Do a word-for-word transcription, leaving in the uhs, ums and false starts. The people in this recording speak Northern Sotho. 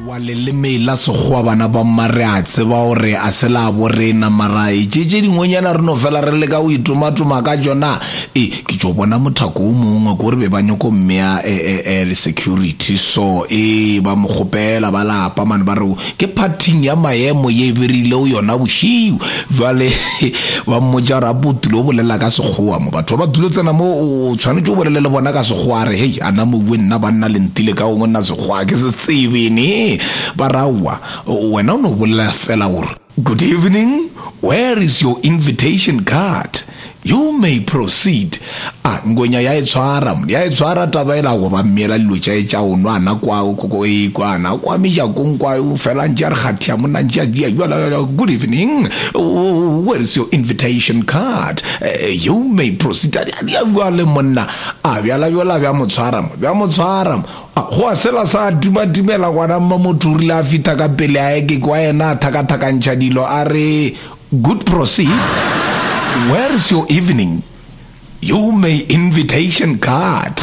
Wa leleme la Sekgowa, bana ba mma, re a tseba gore a se la bo rena, mara e tše tše dingwenyana re no fela re leka go itomatoma ka tšona. E ke tšo bona mothako o mongwe ko re be ba nyako mmea e le security, so e ba mo kgopela ba lapa mane, ba re ke phathing ya maemo ye e berile yona bošiu. Jwale ba mmotša gore a potile o bolela ka Sekgowa mo, batho ba ba tulo tsena mo, o tshwanetse o bolele le bona ka Sekgowa. A re, hei, ana moue nna banna le ntile ka gongwe, nna Sekgowa ke se tsebene. Ba raowa, wena o no bolela fela gore, "Good evening, where is your invitation card? You may proceed." A ngwenya ya e tshwara, ya e tshwara taba e la go ba mmeela dilo tša e tša o nwa ana kwa e kwa ana kwa mejakong kwa o fela ntše a re kgathia monna ntše a dia jwala, "Good evening, where is your invitation card? You may proceed." A dia jwale monna a bjala bjola bja mo tshwara mo, bja mo tshwara mo, go a sela sa timatimela ngwana mma. Motho o rile a fita ka pele a eke kwa yena a thakathakantšha dilo, a re, "Good proceed, where is your evening? You may invitation card."